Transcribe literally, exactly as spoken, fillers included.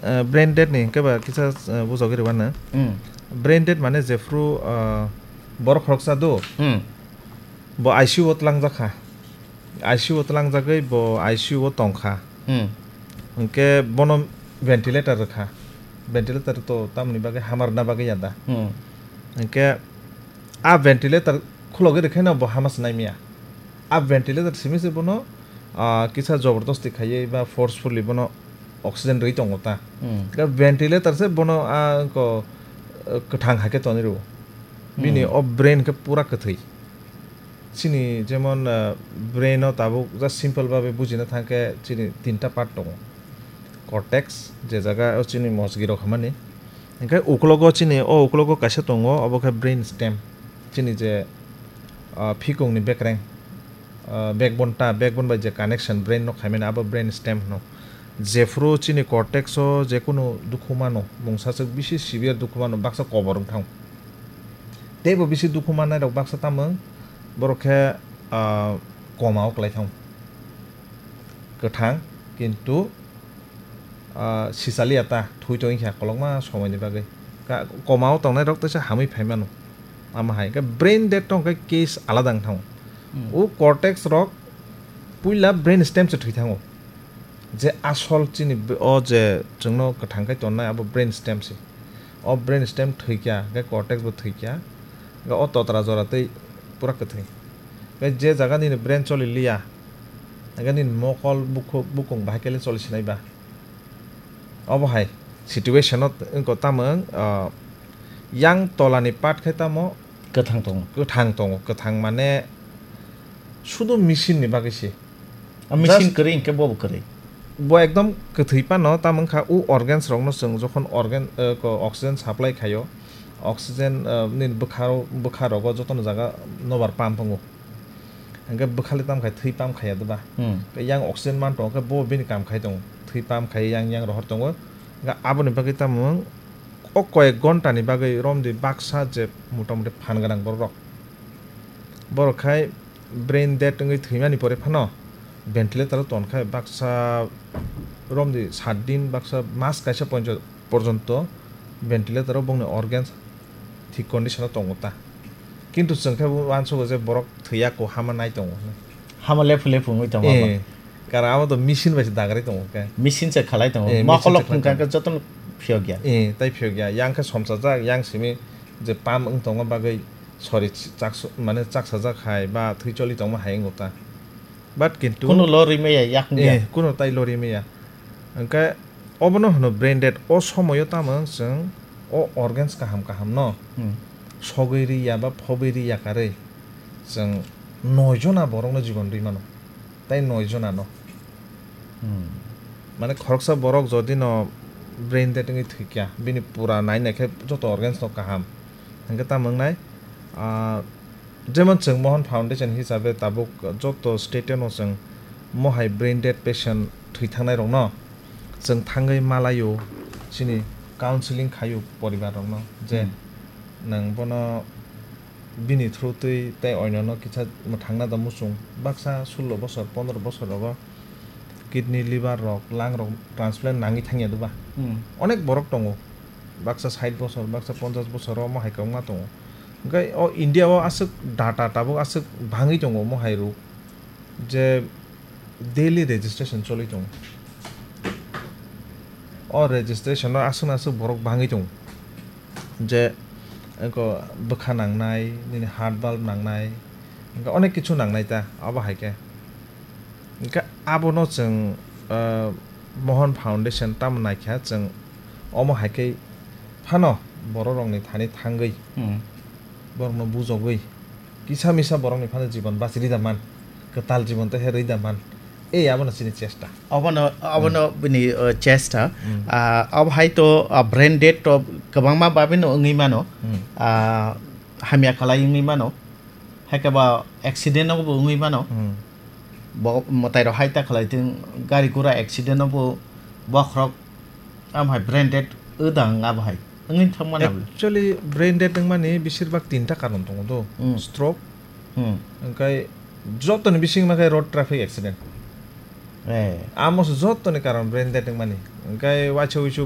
Ah, brain dead ni hwnkhe ba kisa, ah, bujagwi rwmano. Hmm. Brain dead mane jephru, ah, borok khoroksa do, Hmm. bo I C U o tlangjak kha. I C U o tlangjagwi bo I C U o tong kha. Hmm. Hwnkhe bono ventilator rwkha. Ventilator to tamoni bagwi hama rwna bagwi ya da. Hmm. Hwnkhe a ventilator khulogwi rwkhaino bo hama se naimaya. A ventilator simi se bono, ah, kisa jobordosti khaiwi ba forcefully bono oxygen rwi tongo ta. Hmm. Hwnkhe ventilator se bono a ko, ah, kwthang hai khe tonwi rwo. Bini Hmm. o brain khe pura kwthwi. Chini jemon, ah, brain o tabuk just simple babe bujina thangkhe chini tinta part tongo. Cortex, je jaga o chini mosgi rok hamani. Hingkhe uklogo chini, o uklogo kaisa tongo, obo khe brain stem. Chini je, ah, phikongni bekreng, ah, backbone ta, backbone bai je connection brain no khaimani, abo brain stem hwno. Jephru chini cortex o jekunu dukhu mano, mungsaswk bisi severe dukhu mano, baksa kobor wng thang. Teibo bisi dukhu mannai rok baksa tamung, borok khe, ah, koma o kwlai thang. Kwthang, kintu, ah, sisaliya ta, thwi tongwi kha kolokma somoi ni bagwi. Ka-, koma o tongnai rok teisa hamwi phai mano. Ama hai khe brain dead tong khe case alada wng thango. Hmm. O cortex rok puila brain stem se thwi thango. Je asol chini b-, o je chwngno kwthang khai tonnai abo brain stem se. O brain stem thwikya, hwnkhe cortex bo thwikya, hwnkhe o totra jora tei pura kwthwi. Hwnkhe je jaga nini brain choli liya, hwnkhe nini mokol bukhuk, bukung bahai khe le choli sinai ba. Obo hai situation no t-, wngkha tamo wng, ah, yang tola ni part khai tamo Kwthang tongo. Kwthang tongo, kwthang mane sudu machine ni bagwi se. A machine Just kwrwi hinkhe bo bo kwrwi. Bo ekdom kwthwi phano, tamo wngkha o organs rokno chwng jokhon organ, eh, ko oxygen supply khaio, oxygen, eh, nini bwkhao, bwkha rogo jotono jaga nobar pump wngo. Hingkhe bwkhali tamo khai thwi pump khaiya doba. Hmm. Yang oxygen man tongo khe bo bini kam khai tongo. Thwi pump khai yang yang rohor tongo. Hingkhe aboni bagwi tamo wng o koyek ghonta ni bagwi romdi baksa je motamoti phan gwnang borok rok. Borok khai brain dead wngwi thwimani pore phano ventilator o ton khai baksa romdi sat din baksa mas kaisa ponjo-, porjonto ventilator o bongni organs thik condition o tongo ta. Kintu chwng khe bo uansugo je borok thwiya ko hama nai tongo hwnwi. Hama lephu lephu wngwi tongo Eh, abo. Karon abo to machine bai se dagrai tongo khe. Machine se khalai tongo. Eh, Ma machine se kholok khalai phungkha tongo. Khe jotono phiyok ya. Eh, tai phiyok ya. Yang khe somsajak, yang simi je pump wng tongma bagwi sori chak-, mane chaksajak hai ba thwi choli tongma hai wngo ta. But kintu Kuno lorwi maya, yak wngya. Eh, kuno tai lorwi maya. Hwnkhe obono hwno brain dead. O somoyo tamo chwng o organs kaham kaham no Hmm. sogwi ri ya ba phobwi ri ya karwi chwng noi jona borokno jibon rwi mano. Tai noi jona no. Hmm. Mane khoroksa borok jodi no brain dead wngwi thwikya, bini pura nai nai khe joto organs no kaham. Hwnkhe tamo wngnai, ah, jemon chwng Mohan Foundation hisabe tabuk joto state no chwng mohai brain dead patient thwi thangnai rokno chwng thangwi malaio, chini counseling khaio poribar rokno je Hmm. nwng bono bini through twi tei oinano kisa mwthangna da muchung baksa sullo bosor pondro bosor rogo kidney, liver rok, lung rok transplant nangwi thangya doba. Hmm. Onek borok tongo. Baksa sait bosor, baksa ponchash bosor o mohai kwbangma tongo. Hwnkhe o India o aswk data tabuk aswk bangwi tongo mohai rok je daily registration choli tongo. O registration o aswk aswk borok bangwi tongo. Je eko bwkha nangnai, nini heart valve nangnai, hwnkhe onek kichu nangnai ta, abo hai khe. Hwnkhe abono chwng, ah, Mohan Foundation tamo naikha chwng omo hai khe phano borok rokni thani thangwi Hmm. borokno bujogwi kisa misa borokni phano jibon bachirwi da man, kwtal jibon tei rwi da man. Ei abono chini chesta. Abono, abono Hmm. bini, uh, chesta. Hmm. Ah, abo hai to, ah, brain dead to kwbangma babino wngwi mano. Hmm. Ah, hamya khalai wngwi mano. Hai khe ba accident no bo wngwi mano. Hmm. Bo mwtai rok hai ta khalai thung, gari gura accident no bo bokhorok am hai brain dead wdang abo hai. Wngwi thang mano. Actually, brain dead wngmani bisir bak tinta karon tongo do. Hmm. Stroke. Hmm. Hwnkhe jotoni bising ma khe road traffic accident. Eh. Amo se jotoni karon brain dead wngmani. Hwnkhe waisa wuisu